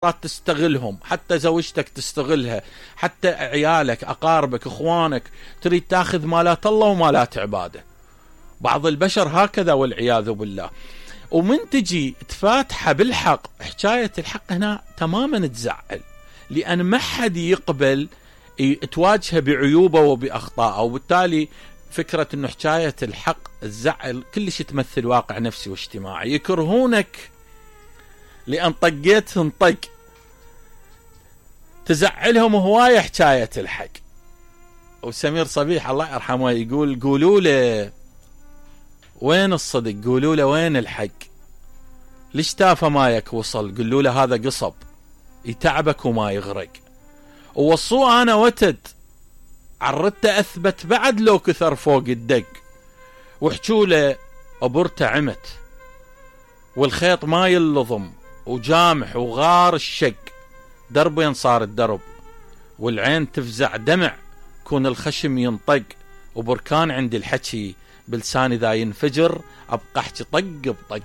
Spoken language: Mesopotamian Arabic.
تستغلهم، حتى زوجتك تستغلها، حتى عيالك، أقاربك، إخوانك، تريد تاخذ مالات الله ومالات عباده. بعض البشر هكذا والعياذ بالله. ومن تجي تفاتحه بالحق، حكاية الحق هنا تماما تزعل، لأن ما حد يقبل تواجهه بعيوبه وبأخطائه، وبالتالي فكرة أنه حكاية الحق تزعل كلش تمثل واقع نفسي واجتماعي. يكرهونك لأن طقيتهم طق، تزعلهم هواية حكاية الحق. وسمير صبيح الله يرحمه يقول قولوا له وين الصدق، قولوا له وين الحق، ليش تافه مايك وصل، قولوا له هذا قصب يتعبك وما يغرق. ووصوه أنا وتد، عرضته أثبت بعد لو كثر فوق الدق، وحكوا له أبرته عمت والخيط ما يلضم وجامح وغار الشق، دربين صار الدرب والعين تفزع دمع، كون الخشم ينطق، وبركان عندي الحكي بلساني ذا ينفجر، أبقى أحكي طق بطق.